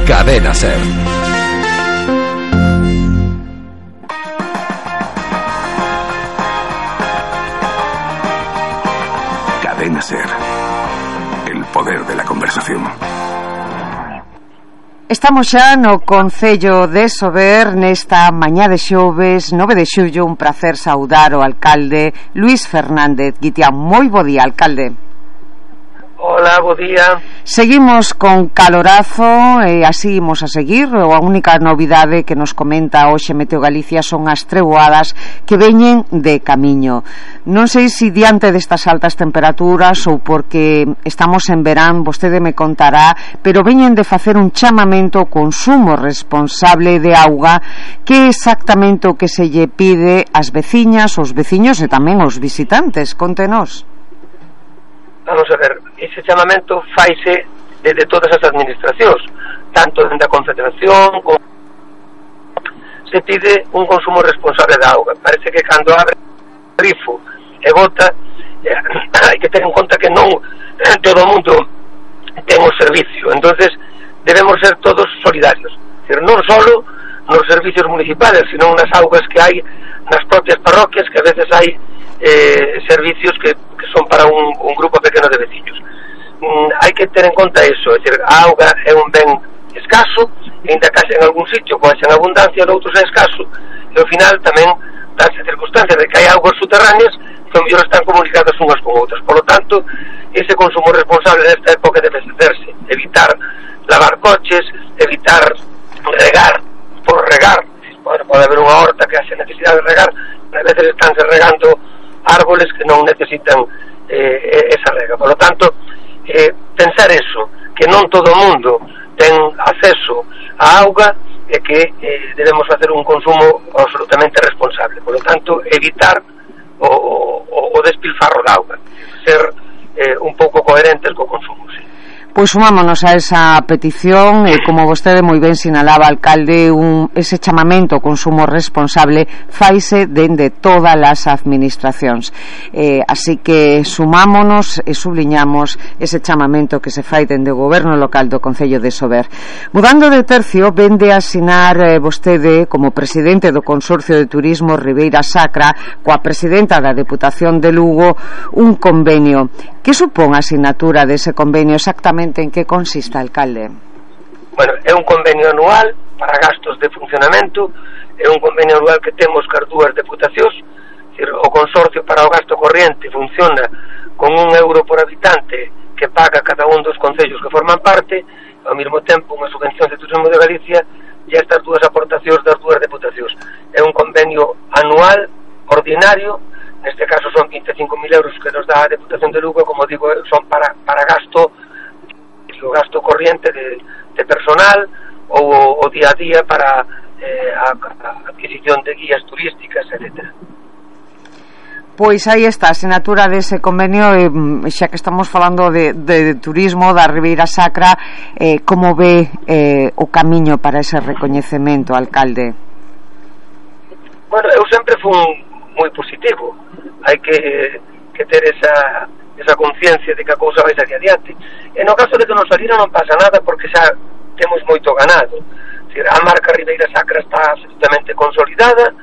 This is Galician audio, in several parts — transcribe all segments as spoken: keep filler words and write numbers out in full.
Cadena Ser. Cadena Ser. El poder de la conversación. Estamos xa no Concello de Sober nesta mañá de xoves nove de xullo. Un placer saudar o alcalde Luís Fernández Guitián. Moi bo día, alcalde. Hola, bo día. Seguimos con calorazo e así imos a seguir. A única novidade que nos comenta hoxe Meteo Galicia son as treboadas que veñen de camiño. Non sei se diante destas altas temperaturas ou porque estamos en verán, vostede me contará, pero veñen de facer un chamamento ao consumo responsable de auga. Que exactamente o que se lle pide ás veciñas, aos veciños e tamén aos visitantes? Contenos. Vamos a ver, ese chamamento faise desde todas as administracións, tanto dende a Confederación como se pide un consumo responsable de auga. Parece que cando abre o grifo e bota, eh, hai que ter en conta que non todo o mundo ten o servicio, entonces debemos ser todos solidarios, decir, non só nos servicios municipales, sino nas augas que hai nas propias parroquias, que a veces hai eh, servicios que, que son para un, un grupo pequeno de veciños. Mm, hai que ter en conta eso, é dicir, a auga é un ben escaso, e ainda case en algún sitio, coa en abundancia, noutros é escaso, e ao final tamén danse circunstancias de que hai augas subterráneas que ao mellor están comunicadas unhas con outras. Por lo tanto, ese consumo responsable nesta época debe hacerse, evitar lavar coches, evitar regar por regar. Bueno, pode haber unha horta que haxe necesidade de regar, pero a veces estánse regando árboles que non necesitan eh, esa rega. Por lo tanto, eh, pensar eso, que non todo o mundo ten acceso á auga e que eh, debemos facer un consumo absolutamente responsable. Por lo tanto, evitar o, o, o despilfarro da auga, ser eh, un pouco coherentes co consumo, sí. Pois sumámonos a esa petición e, como vostede moi ben sinalaba, alcalde, un, ese chamamento ao consumo responsable faise dende todas as administracións. Eh, así que sumámonos e subliñamos ese chamamento que se fai dende o goberno local do Concello de Sober. Mudando de tercio, vende a asinar eh, vostede, como presidente do Consorcio de Turismo Ribeira Sacra, coa presidenta da Deputación de Lugo, un convenio. Que supón a asinatura dese convenio? Exactamente en que consiste, alcalde? Bueno, é un convenio anual para gastos de funcionamento, é un convenio anual que temos cas dúas deputacións, decir, o consorcio para o gasto corriente funciona con un euro por habitante que paga cada un dos concellos que forman parte, ao mesmo tempo unha subvención de Turismo de Galicia e estas dúas aportacións das dúas deputacións. É un convenio anual, ordinario. Neste caso son vinte e cinco mil euros que nos dá a Deputación de Lugo, como digo, son para, para gasto, o gasto corriente de, de personal ou o día a día para eh, a, a adquisición de guías turísticas, etcétera. Pois aí está, a asignatura dese convenio, eh, xa que estamos falando de, de, de turismo da Ribeira Sacra, eh, como ve eh, o camiño para ese recoñecemento, alcalde? Bueno, eu sempre fui moi positivo. Hai que, que ter esa, esa conciencia de que a cousa vai sair adiante. E no caso de que non salira non pasa nada, porque xa temos moito ganado. A marca Ribeira Sacra está absolutamente consolidada,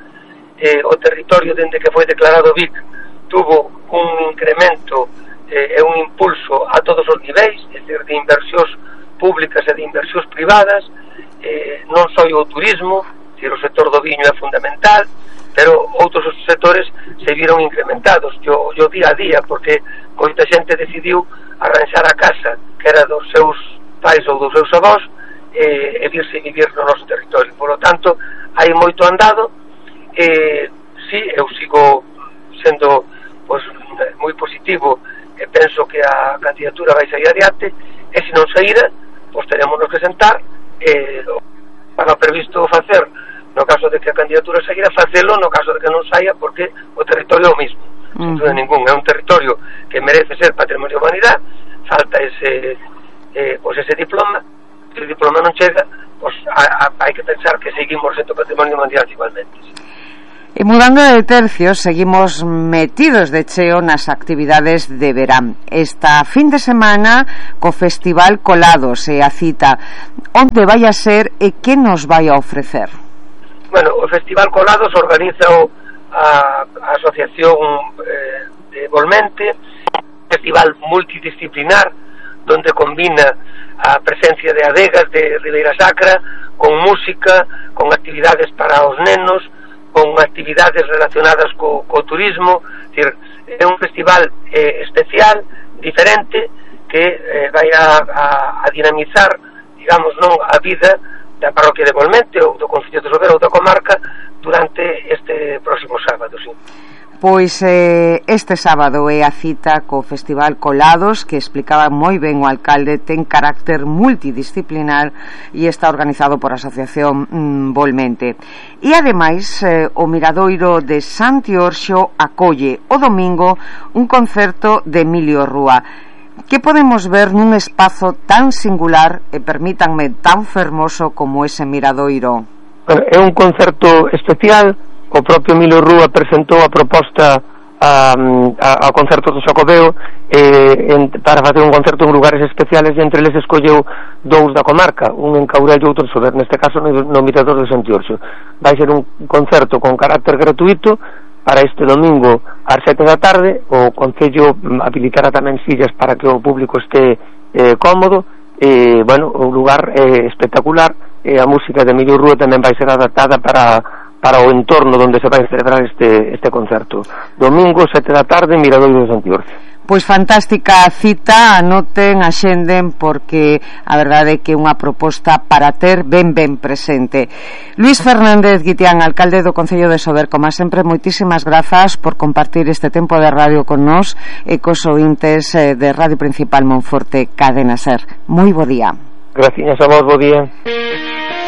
eh, o territorio dende que foi declarado V I C tuvo un incremento e eh, un impulso a todos os niveis, é dicir, de inversións públicas e de inversións privadas, eh, non só o turismo, dicir, o sector do viño é fundamental, pero outros sectores se viron incrementados yo, yo día a día, porque moita xente decidiu arranxar a casa que era dos seus pais ou dos seus avós e, e virse vivir no noso territorio. Por lo tanto, hai moito andado, e si, eu sigo sendo pois, moi positivo e penso que a candidatura vai sair adiante, e se non saíra, pois teremos que sentar e para o previsto facer no caso de que a candidatura saíra, facelo no caso de que non saia, porque o territorio é o mismo, uh-huh. Sin dúda ningún, é un territorio que merece ser patrimonio de humanidade, falta ese eh, pois ese diploma, se o diploma non chega, pois hai que pensar que seguimos sendo patrimonio de humanidade igualmente. E mudando de tercio, seguimos metidos de cheo nas actividades de verán. Esta fin de semana co Festival Colados e a cita, onde vai a ser e que nos vai a ofrecer? Bueno, o Festival Colados organiza a, a Asociación eh, de Volmente, festival multidisciplinar donde combina a presencia de adegas de Ribeira Sacra con música, con actividades para os nenos, con actividades relacionadas co, co turismo. É dicir, é un festival eh, especial, diferente, que eh, vai a, a, a dinamizar, digamos, non a vida da parroquia de Volmente ou do Concello de Sobera ou da comarca durante este próximo sábado, sí. Pois eh, este sábado é a cita co Festival Colados, que explicaba moi ben o alcalde, ten carácter multidisciplinar e está organizado por a Asociación mm, Volmente. E ademais eh, o Miradoiro de Santiorxo acolle o domingo un concerto de Emilio Rúa. Que podemos ver nun espazo tan singular e, permítanme, tan fermoso como ese Miradoiro? É un concerto especial. O propio Emilio Rúa presentou a proposta a, a, ao concerto do Xacobeo eh, en, para facer un concerto en lugares especiales, e entre eles escolleu dous da comarca, un en Caurel e outro en Sober, neste caso no, no Mirador de Santiorxo. Vai ser un concerto con carácter gratuito para este domingo ás sete da tarde. O Concello habilitará tamén sillas para que o público este eh, cómodo. E, bueno, o lugar é eh, espectacular, e a música de Emilio Rúa tamén vai ser adaptada para para o entorno onde se vai celebrar este, este concerto. Domingo, sete da tarde, Miradoiro de Santiorxo. Pois fantástica cita, anoten, axenden, porque a verdade é que é unha proposta para ter ben ben presente. Luís Fernández Guitián, alcalde do Concello de Sober, como sempre, moitísimas grazas por compartir este tempo de radio con nós e cos ointes de Radio Principal Monforte Cadena Ser. Moi bo día. Gracias a vos, bo día.